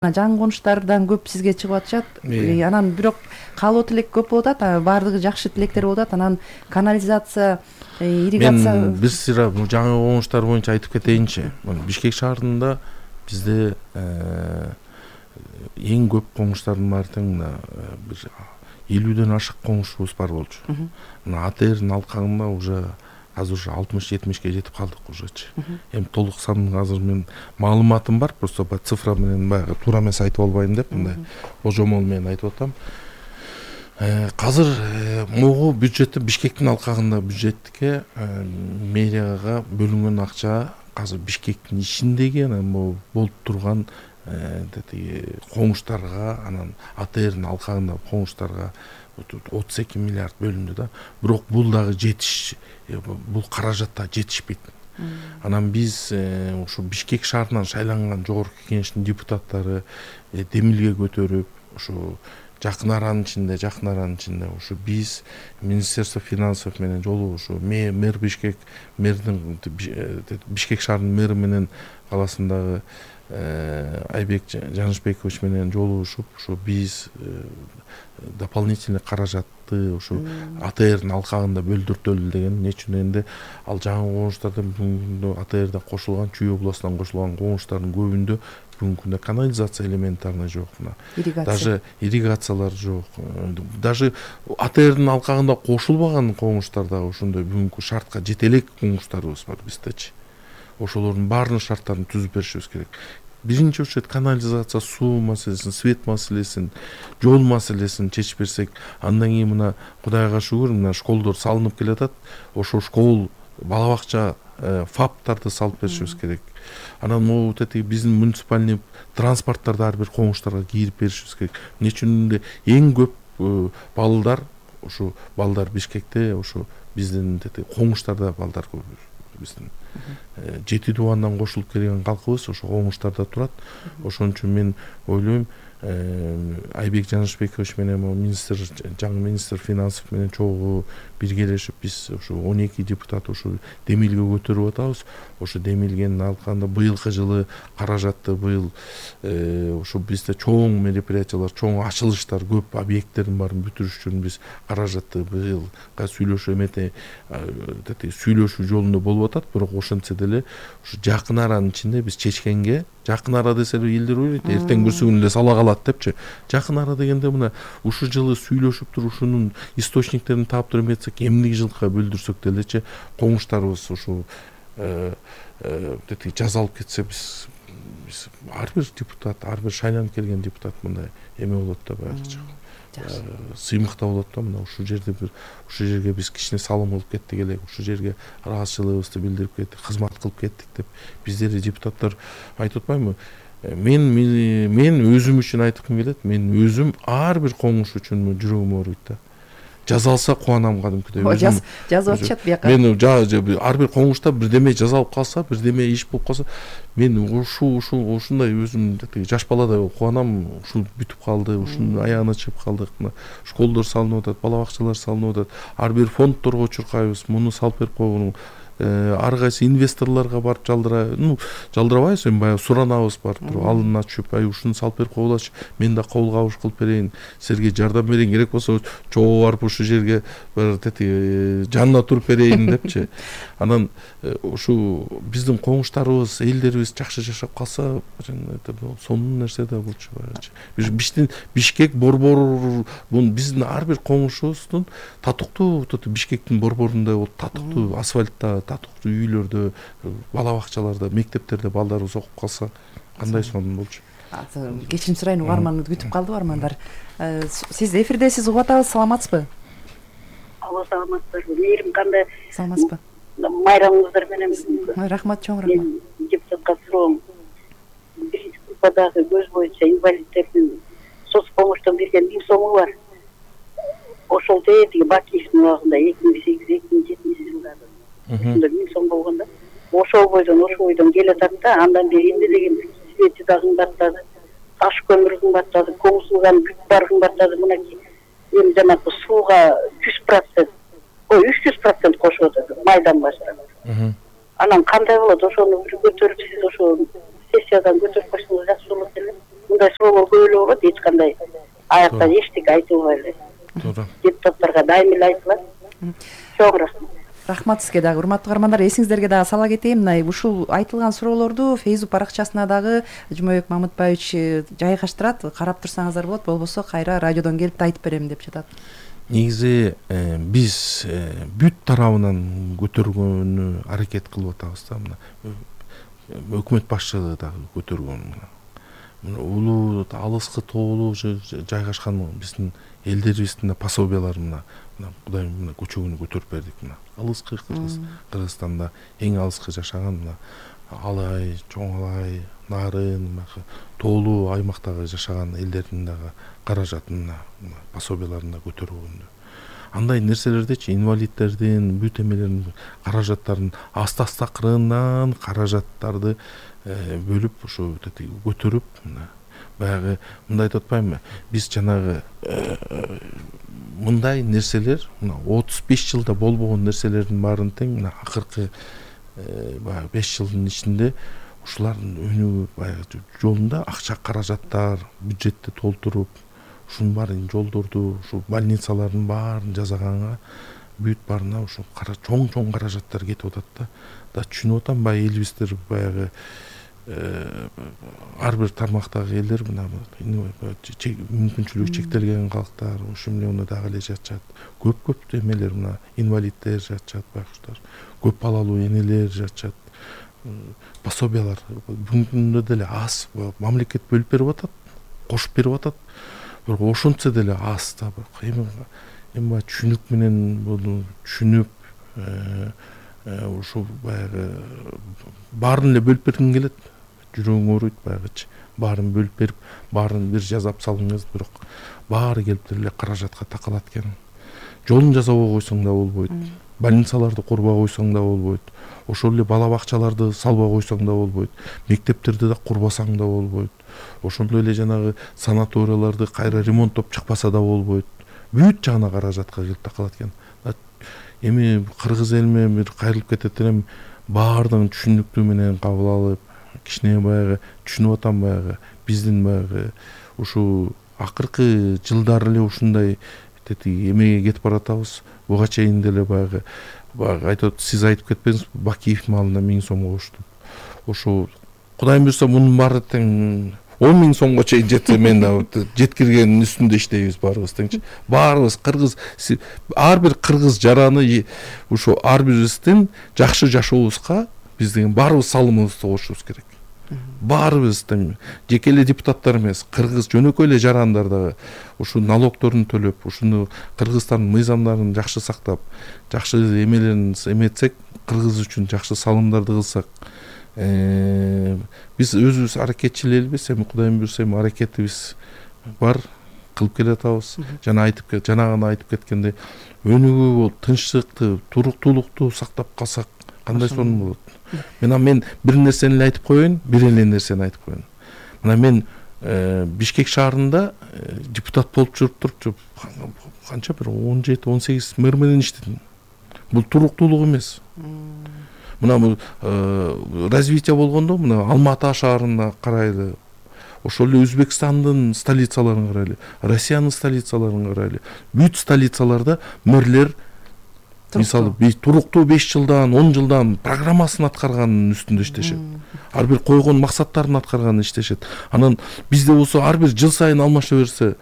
Жан конуштардан көп сизге чыгып атышат. Анан бирок каалоо тилек көп болуп атат, баардыгы жакшы тилектер болуп атат. Анан канализация, ирригация. Мен бир сыйра жаңы конуштар боюнча айтып кетейинчи. Бишкек шаарында бизде эң көп конуштардын баары тең бир 50ден ашык конушубуз бар болчу. Мына АТРдин алкагында уже азыр 60-70ке жетип калдык ужечи. Эми толук санын азыр мен маалыматым бар, просто цифра менен баягы туура эмес айтып албайм деп мындай божомол менен айтып атам. Азыр могу бюджетти Бишкектин алкагында бюджетке мэрияга бөлүнгөн акча азыр Бишкектин ичиндеги анан болуп турган конуштарга, анан АТРдин алкагында конуштарга 32 миллиард бөлүндү да. Бирок бул дагы бул каражатта жетишпейт. Анан биз ушу Бишкек шаарынан шайланган жогорку кеңештин депутаттары демилге көтөрүп, ушу жакын аранын ичинде ушу биз Министерство финансов менен жолу ушу мэр Бишкек, мэрдин Бишкек шаарынын мэри менен каласындагы Айбек Жанышбекович менен жолугушуп, ушу биз дополнительный каражатты ушу АТРдин алкагында бөлдүртөлү деген. Эмне үчүн энди ал жаңы конуштардан бүгүнкү күндө АТРда кошулган, Чүй областынан кошулган конуштардын көбүндө бүгүнкү күндө канализация элементарный жок, даже ирригациялар жок. Даже АТРдин алкагында кошулбаган конуштар дагы ошондой бүгүнкү шартка жете элек конуштарыбыз бар биздечи. Ошолордун баарынын шарттарын түзүп беришибиз керек. Биринчи очередь канализация, суу маселесин, свет маселесин, жол маселесин чечип берсек, андан кийин мына Кудайга шүгүр, мына школдор салынып келатат. Ошо школ, бала бакча, ФАПтарды салып беришибиз керек. Анан могу биздин муниципальный транспорттарды ар бир конуштарга кийип беришибиз керек. Эмне үчүн эң көп балдар, ушу балдар Бишкекте, ушу биздин конуштарда балдар көп. Биздин 7 тубандан кошулуп келген калкыбыз ошо конуштарда турат. Ошон үчүн мен ойлойм, Айбек Жанышбекович менен жаңы министр финансов менен чогуу биргелешип биз ушу 12 депутат ушу демилге көтөрүп атабыз. Ошо демилгенин алкагында быйылкы жылы каражатты быйыл ушу бизде чоң мероприятиялар, чоң ачылыштар, көп объекттердин баарын бүтүрүш үчүн биз каражатты быйылга сүйлөшүү жолунда болуп атат. Бирок ошентсе деле ушу жакын аранын ичинде биз чечкенге, жакын ара десе элдер ойлойт, эртең бүрсүгүн эле сала калат депчи. Жакын ара дегенде мына ушу жылы сүйлөшүп туруп ушунун источниктерин таап туруп эметсек, эмнеги жылга бөлдүрсөк делечи конуштарыбыз ушу жазалып кетсе, биз ар бир депутат, ар бир шайланып келген депутат мындай эме болот да, баягыча сыймыкта болот да. Мына ушул жерге биз кичине салым кылып кеттик элек, ушул жерге ыраазычылыгыбызды билдирип кеттик, кызмат кылып кеттик деп биздер депутаттар айтып атпаймынбы? Мен өзүм үчүн айткым келет. Мен өзүм ар бир конуш үчүн жүрөгүм ооруйт да. Жазалса кубанам кадимкидей. Жазып атышат бияка. Мен ар бир конушта бирдеме жазалып калса, бирдеме иш болуп калса, мен ушундай өзүм жаш баладай болуп кубанам. Ушул бүтүп калды, ушунун аягына чыгып калдык. Мына школдор салынып атат, бала бакчалар салынып атат. Ар бир фондторго чуркайбыз, муну салып берип койгон. Ар кайсы инвесторлорго барып жалдырабайбыз, эми баягы суранабыз барып туруп, алына түшүп, ушуну салып берип койгулачы, мен да кол кабыш кылып берейин, силерге жардам берейин, керек болсо чогуу барып ушул жерге жанына туруп берейин депчи. Анан ушу биздин конуштарыбыз, элдерибиз жакшы жашап калса, сонун нерсе да болчу баягычы. Бишкек борбор, биздин ар бир конушубуздун татыктуу Бишкектин борборундай болуп, татыктуу асфальтта, татыктуу үйлөрдө, бала бакчаларда, мектептерде балдарыбыз окуп калса, кандай сонун болчу. Кечирим сурайын, угарманыңыз күтүп калды, угармандар. Сиз эфирдесиз, угуп атабыз, саламатсызбы? Алло, саламатсыздарбы? Мээрим кандай? Саламатсызбы? Майрамыңыздар менен. Рахмат, чоң рахмат. Депутатка суроом. Биринчи группадагы көз боюнча инвалидтердин соц помощтон берген 1000 сому бар. Ошол тетиги Бакиевдин убагында 2008-2007 жылдары. Ошондо 1000 сом болгондо. Ошол бойдон келатат да, андан бери эмне деген свети да кымбаттады, таш көмүр кымбаттады, комузулган бүт бар кымбаттады. Мынакей эми жанагы сууга 300% кошуп атат майдан баштап. Анан кандай болот? Ошону көтөрүп, сиз ошо сессиядан көтөрүп койсоңуз жакшы болот эле. мындай суроолор көп эле болот, эч кандай аяктан эчтеке айтылбай эле. Туура. Депутаттарга дайым эле айтылат. Чоң рахмат. Рахмат сизге дагы. Урматтуу каармандар, эсиңиздерге дагы сала кетейин. Мына ушул айтылган суроолорду Facebook баракчасына дагы Жумабек Мамытбаевич жайгаштырат. Карап турсаңыздар болот, болбосо кайра радиодон келип да айтып берем деп жатат. Негизи биз бүт тарабынан көтөргөнү аракет кылып атабыз да. Мына өкмөт башчылыгы дагы көтөргөн. Улуу алыскы тоолуу жайгашкан биздин элдерибиздин пособиялары мына Кудайым мына көчөгүнү көтөрүп бердик. Мына алыскы Кыргызстанда эң алыскы жашаган мына Алай, Чоң Алай, Нарын, тоолуу аймактагы жашаган элдердин дагы каражатын пособияларына көтөргөндү. Андай нерселердичи инвалидтердин бүт эмелерин каражаттарын аста кырынан каражаттарды бөлүп ушу көтөрүп баягы мындай айтып атпаймынбы, биз жанагы мындай нерселер 35 жылда болбогон нерселердин баарын тең мына акыркы 5 жылдын ичинде ушулардын өнүгүү баягы жолунда акча каражаттар бюджетти толтуруп ушунун баарын жолдорду ушу больницалардын баарын жасаганга бүт баарына ушу чоң каражаттар кетип атат да түшүнүп атам элибиздер баягы ар бир тармактагы элдер мына мүмкүнчүлүгү чектелген калктар ушул миллиону дагы эле жатышат. Көп эмелер мына инвалиддер жатышат, байкуштар. Көп балалуу энелер жатышат. Пособиялар бүгүнкү күндө деле аз, мамлекет бөлүп берип атат, кошуп берип атат. Бирок ошончо деле аз да. Эми түшүнүк менен буну түшүнүп ушу баягы баарын эле бөлүп бергим келет. Жүрөгүң ооруйт баягычы. Баарын бөлүп берип, баарын бир жазап салыңыз, бирок баары келип эле каражатка такалат экен. Жолун жасабай койсоң да болбойт. Больницаларды корбой койсоң да болбойт. Ошол эле бала бакчаларды салбай койсоң да болбойт. Мектептерди да курбасаң да болбойт. Ошондой эле жанагы санаторияларды кайра ремонттоп чыкпаса да болбойт. Бүт жагына каражатка келип такалат экен. Эми кыргыз элиме бир кайрылып кетет элем, баардыгын түшүнүктүү менен кабыл алып, кичине баягы түшүнүп атам баягы биздин баягы ушу акыркы жылдары эле ушундай эмеге кетип баратабыз. Буга чейин деле баягы айтып сиз айтып кетпеңиз, Бакиев маалына 1000 сомго коштум. Ошо Кудайым буйрса мунун баары тең 10 000 сомго чейин жетсе мен жеткиргендин үстүндө иштейбиз баарыбыз теңчи. Баарыбыз кыргыз, ар бир кыргыз жараны ушу ар бирибиздин жакшы жашообузга биз деген баарыбыз салымыбызды кошушубуз керек. Баарыбыз тең жеке эле депутаттар эмес, кыргыз жөнөкөй эле жарандар дагы ушу налогторун төлөп, ушуну Кыргызстандын мыйзамдарын жакшы сактап, жакшы эмелерин эметсек, кыргыз үчүн жакшы салымдарды кылсак, биз өзүбүз аракетчил элбиз, эми Кудайым буйрса эми аракетибиз бар, кылып келатабыз. Жанагы айтып кеткендей, өнүгүү болуп, тынччылыкты, туруктуулукту сактап калсак, кандай сонун болот. Мен бир нерсени эле айтып коеюн, бир эле нерсени айтып коеюн. Мына мен Бишкек шаарында депутат болуп жүрүп туруп, канча бир 17-18 мэр менен иштедим. Бул туруктуулук эмес. Мына развитие болгондо мына Алматы шаарына карайлы, ошол эле Өзбекстандын столицаларын карайлы, Россиянын столицаларын карайлы. Бүт столицаларда мэрлер мисалы туруктуу 5 жылдан, 10 жылдан программасын аткарганын үстүндө иштешет. Ар бир койгон максаттарын аткарганын иштешет. Анан бизде болсо ар бир жыл сайын алмаша берсе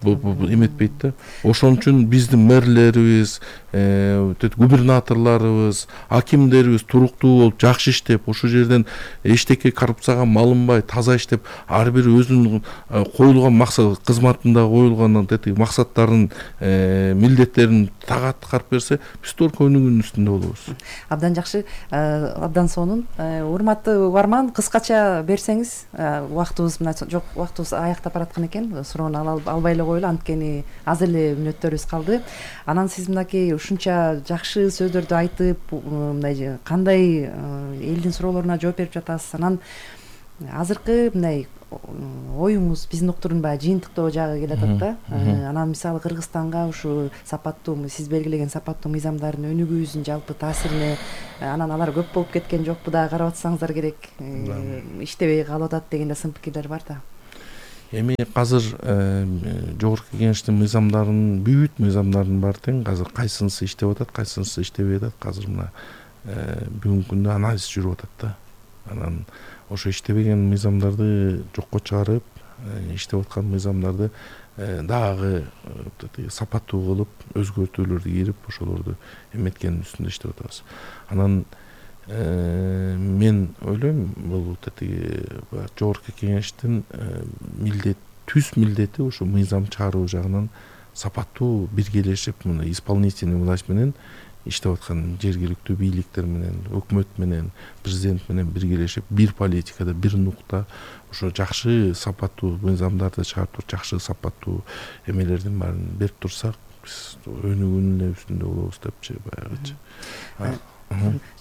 эметпейт да. Ошон үчүн биздин мэрлерибиз, губернаторлорубуз, акимдерибиз туруктуу болуп, жакшы иштеп, ошол жерден эчтеке коррупцияга малынбай, таза иштеп, ар бир өзүнүн коюлган максат, кызматында коюлган максаттарын, милдеттерин так аткарып берсе, биз только өнүгүүнүн үстүндө болобуз. Абдан жакшы, абдан сонун. Урматтуу барман, кыскача берсеңиз, убактыбыз мына жок, убактыбыз аяктап бараткан экен. Суроону албай эле коелу, анткени аз эле мүнөттөрүбүз калды. Анан сиз мынакей ушунча жакшы сөздөрдү айтып, мындай кандай элдин суроолоруна жооп берип жатасыз. Анан азыркы мындай оюңуз биздин уктурун баягы жыйынтыктоо жагы келатат да. Анан мисалы Кыргызстанга ушу сапаттуу, сиз белгилеген сапаттуу мыйзамдардын өнүгүүбүздүн жалпы таасирине, анан алар көп болуп кеткен жокпу да, карап атсаңыздар керек, иштебей калып атат деген да сын пикирлер бар да. Эми азыр жогорку кеңештин мыйзамдарын, бүт мыйзамдардын баары тең. Азыр кайсынысы иштеп атат, кайсынысы иштебей атат. Азыр мына бүгүнкү күндө анализ жүрүп атат да. Анан ошо иштебеген мыйзамдарды жокко чыгарып, иштеп аткан мыйзамдарды дагы сапаттуу кылып, өзгөртүүлөрдү кирип, ошолорду эметкенин үстүндө иштеп атабыз. Анан мен ойлойм, бул жогорку кеңештин түз милдети ушу мыйзам чыгаруу жагынан сапаттуу биргелешип, мына исполнительный власть менен иштеп аткан жергиликтүү бийликтер менен, өкмөт менен, президент менен биргелешип, бир политикада, бир нукта ошо жакшы сапаттуу мыйзамдарды чыгарып, жакшы сапаттуу эмелердин баарын берип турсак, биз өнүгүүнүн эле үстүндө болобуз депчи, баягычы.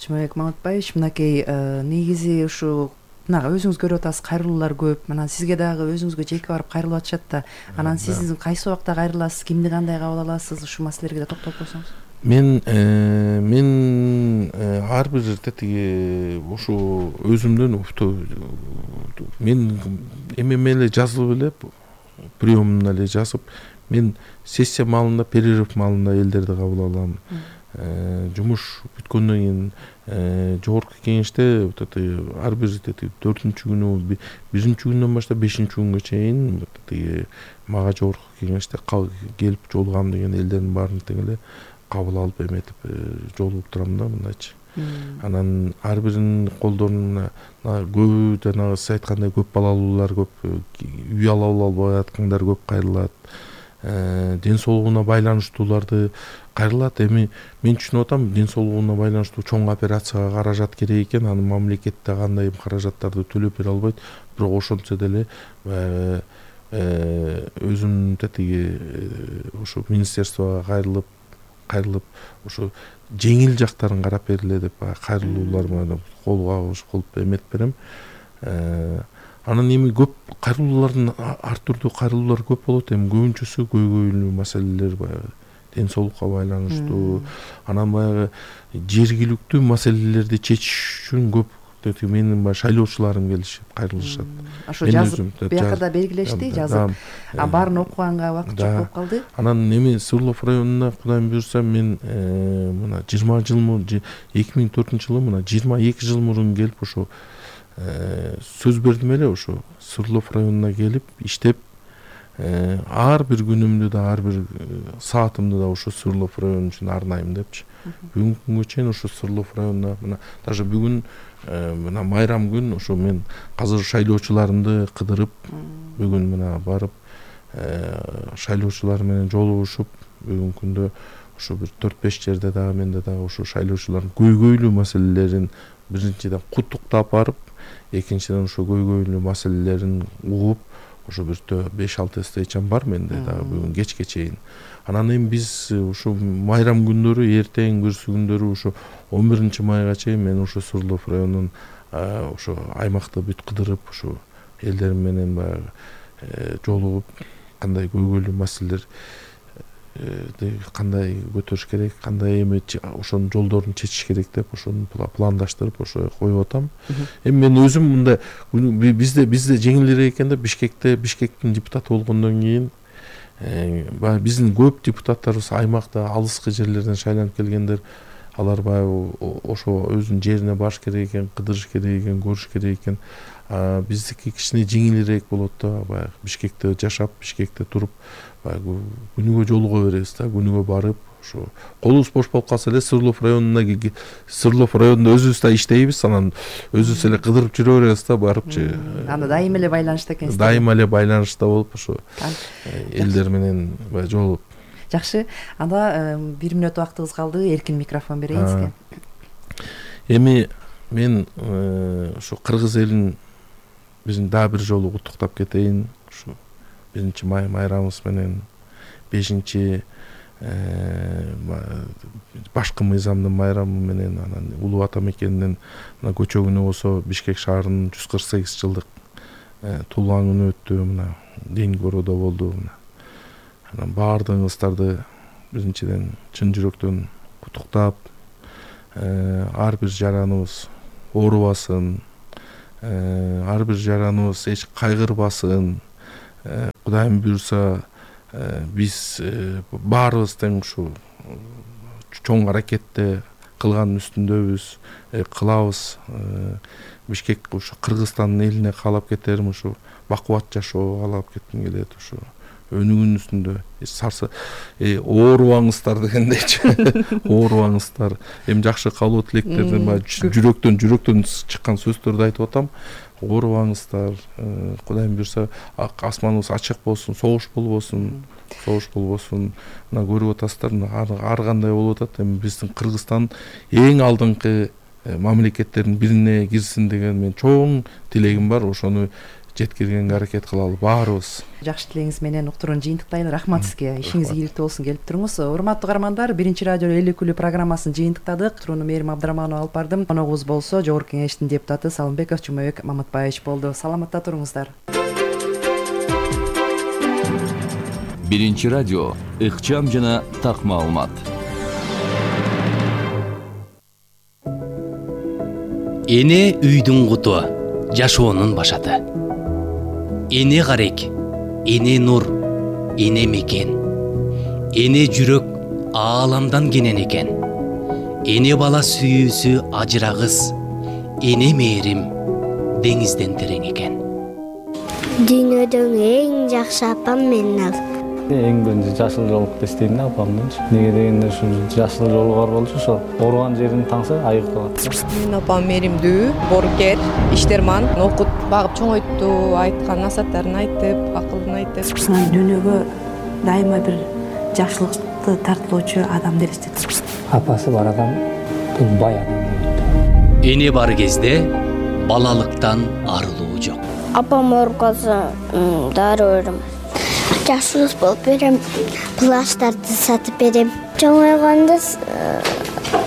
Чымабек Маматбаевич, мынакей негизи ушу мына өзүңүз көрүп атасыз, кайрылуулар көп. Анан сизге дагы өзүңүзгө жеке барып кайрылып атышат да. Анан сиз кайсы убакта кайрыласыз, кимди кандай кабыл аласыз? Ушу маселелерге да токтолуп койсоңуз. Мен ар бир ушу өзүмдөн мен эме эле жазылып эле, приемуна эле жазып, мен сессия маалында, перерыв маалында элдерди кабыл алам. Жумуш бүткөндөн кийин жогорку кеңеште ар бир 4-күнү, 1-күндөн баштап 5-күнгө чейин мага жогорку кеңеште келип жолугам деген элдердин баарын тең эле кабыл алып эметип жолугуп турам да, мындайчы. Анан ар биринин колдорунда көбү жанагы сиз айткандай көп балалуулар көп, үй ала албай аткандар көп кайрылат. Ден соолугуна байланыштууларды кайрылат. Эми мен түшүнүп атам, ден соолугуна байланыштуу чоң операцияга каражат керек экен, аны мамлекетте кандай каражаттарды төлөп бере албайт. Бирок ошентсе деле өзүм ошо министерствого кайрылып ошо жеңил жактарын карап бергиле деп кайрылуулар менен колго кылып эметип берем. Анан эми көп кайрылуулардын ар түрдүү кайрылуулар көп болот. Эми көбүнчөсү көйгөйлүү маселелер, баягы ден соолукка байланыштуу. Анан баягы жергиликтүү маселелерди чечиш үчүн көп менин шайлоочуларым келишип кайрылышат. Ошо жазып биякада белгилешти, жазып. Баарын окуганга убакыт жок болуп калды. Анан эми Сырлов районуна Кудайым буйрса мен мына 20 жыл мурун, 2004-жылы мына 22 жыл мурун келип ошо сөз бердим эле, ошо Сырлов районуна келип иштеп, ар бир күнүмдү да, ар бир саатымды да ошо Сырлов району үчүн арнайм депчи. Бүгүнкү күнгө чейин ошо Сырлов районуна мына даже бүгүн мына майрам күн ошо мен азыр шайлоочуларымды кыдырып, бүгүн мына барып шайлоочулар менен жолугушуп, бүгүнкү күндө ошо бир 4-5 жерде дагы менде дагы ошо шайлоочулардын көйгөйлүү маселелерин биринчиден куттуктап барып, экинчиден ошо көйгөйлүү маселелерин угуп, ошо бир 5-6 встречам бар менде дагы бүгүн кечке чейин. Анан эми биз ушу майрам күндөрү, эртең бүрсү күндөрү ушу 11 майга чейин мен ушу Сырлов районунун ошо аймакты бүт кыдырып, ошо элдерим менен баягы жолугуп, кандай көйгөйлүү маселелер кандай көтөрүш керек, кандай эми ошонун жолдорун чечиш керек деп ошону пландаштырып ошо коюп атам. Эми мен өзүм мында бизде жеңилирээк экен да, Бишкектин депутаты болгондон кийин биздин көп депутаттарыбыз аймакта алыскы жерлерден шайланып келгендер, алар баягы ошо өзүнүн жерине барыш керек экен, кыдырыш керек экен, көрүш керек экен. Биздики кичине жеңилирээк болот да, баягы Бишкекте жашап, Бишкекте туруп, баягы күнүгө жолуга беребиз да, күнүгө барып, ошо колубуз бош болуп калса эле Сырлов районунда өзүбүз да иштейбиз, анан өзүбүз эле кыдырып жүрө беребиз да, барыпчы. Анда дайыма эле байланышта экенсиз. Дайыма эле байланышта болуп, ошо элдер менен баягы жолугуп. Жакшы. Анда 1 мүнөт убактыбыз калды. Эркин микрофон берейин сизге. Эми мен ошо кыргыз элин биздин дагы бир жолу куттуктап кетейин. Ушу 1-майрамыбыз менен 5 башкы мыйзамдын майрамы менен, анан улуу ата мекенинин мына көчө күнү болсо Бишкек шаарынын 148 жылдык туулган күнү өттү, мына ден короодо болду. Анан баардыгыңыздарды биринчиден чын жүрөктөн куттуктап, ар бир жараныбыз оорубасын, ар бир жараныбыз эч кайгырбасын, Кудайым буюрса биз баарыбыз тең ушу чоң аракетте кылганын үстүндөбүз, кылабыз. Бишкек ушу Кыргызстандын элине каалап кетерим, ушу бакубат жашоо каалап кетким келет, ушу өнүгүүнүн үстүндө оорубаңыздар дегендейчи. Оорубаңыздар. Эми жакшы каалоо тилектерди жүрөктөн чыккан сөздөрдү айтып атам. Оорубаңыздар. Кудайым буюрса асманыбыз ачык болсун, согуш болбосун. Мына көрүп атасыздар, ар кандай болуп атат. Эми биздин Кыргызстан эң алдыңкы мамлекеттердин бирине кирсин деген мен чоң тилегим бар. Ошону жеткиргенге аракет кылалы баарыбыз. Жакшы тилегиңиз менен уктурууну жыйынтыктайлы. Рахмат сизге. Ишиңиз ийгиликтүү болсун, келип туруңуз. Урматтуу каармандар, Биринчи радио Эл Күлүү программасын жыйынтыктадык. Турууну Мээрим Абдрахманова алып бардым. Коногубуз болсо Жогорку Кеңештин депутаты Салымбеков Жумабек Маматбаевич болду. Саламатта туруңуздар. Биринчи радио ыкчам жана так маалымат. Эне үйдүн куту, жашоонун башаты. Эне карек, эне нур, эне мекен. Эне жүрөк ааламдан кенен экен. Эне бала сүйүүсү ажырагыс. Эне мээрим деңизден терең экен. Дүйнөдөн эң жакшы апам менин ал. Эң биринчи жашыл жолукты издейм да апамдынчы. Неге дегенде ушу жашыл жолу бар болчу, ошо ооруган жерин таңса айык калат. Менин апам мээримдүү, боорукер, иштерман, окут, багып чоңойтту, айткан насааттарын айтып, акылын айтып. Дүйнөгө дайыма бир жакшылыкты тартуулоочу адам элестет. Апасы бар адам бул бай адам. Эне бар кезде балалыктан арылуу жок. Апам ооруп калса, дары берем. Жакшыбыз болуп берем, плащтарды сатып берем. Чоңойгондо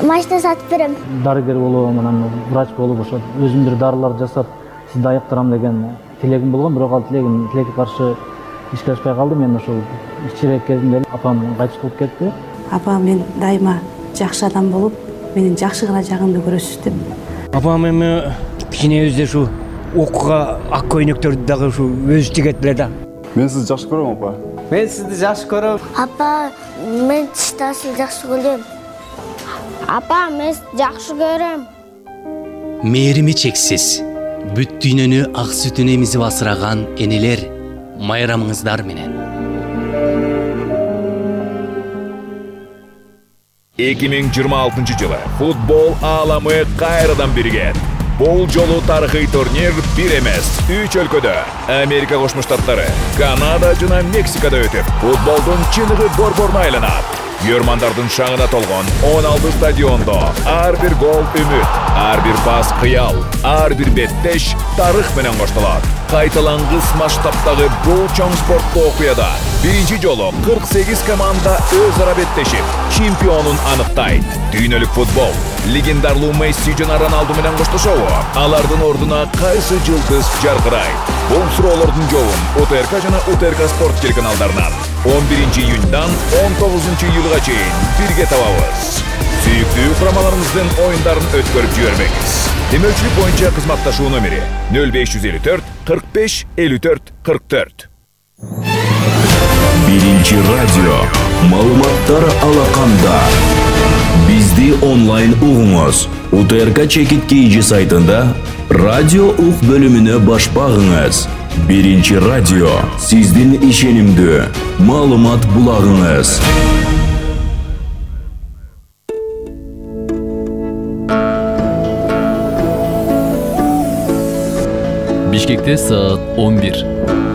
машина сатып берем. Дарыгер болуп, анан врач болуп, ошо өзүм бир дарылар жасап, сизди айыктырам деген тилегим болгон, бирок ал тилекке каршы ишке ашпай калды. Мен ошол кичирээк кезимде апам кайтыш болуп кетти. Апам мен дайыма жакшы адам болуп, менин жакшы гана жагымды көрөсүз деп. Апам эми кичинебизде ушу окууга ак көйнөктөрдү дагы ушу өзү тигет эле да. Мен сизди жакшы көрөм, апа. Мен сизди жакшы көрөм. Апа, мен сизди жакшы көрөм. Апа, мен жакшы көрөм. Мээрими чексиз. Бүт дүйнөнү ак сүтүн эмизип асыраган энелер, майрамыңыздар менен. 2026 жылы футбол ааламы кайрадан бирген. Бул жолу тарыхый турнир бир эмес, 3 өлкөдө Америка Кошмо Штаттары, Канада жана Мексикада өтүп, футболдун чыныгы борборуна айланат. Көрмандардын шаңына толгон 16 стадиондо ар бир гол үмүт, ар бир пас кыял, ар бир беттеш тарых менен коштолот. Кайталангыс масштабтагы бул чоң спорттуу окуяда биринчи жолу 48 команда өз ара беттешип, чемпионун аныктайт. Дүйнөлүк футбол легендарлуу Месси жана Роналду менен коштошобу? Алардын ордуна кайсы жылдыз жаркырайт? Бул суроолордун жообун УТРК жана УТРК спорт телеканалдарынан 11 июньдан 19 июлга чейин бирге табабыз. Сүйүктүү курамаларыңыздын оюндарын өткөрүп жибербеңиз. Демөөлчүлүк боюнча кызматташуу номери 0554 45 54 44. Биринчи радио маалыматтар алаканда. Бизди онлайн угуңуз. УТРК Чекит KG сайтында радио ук бөлүмүнө баш багыңыз. Биринчи радио сиздин ишенимдүү маалымат булагыңыз. Бишкекте саат 11.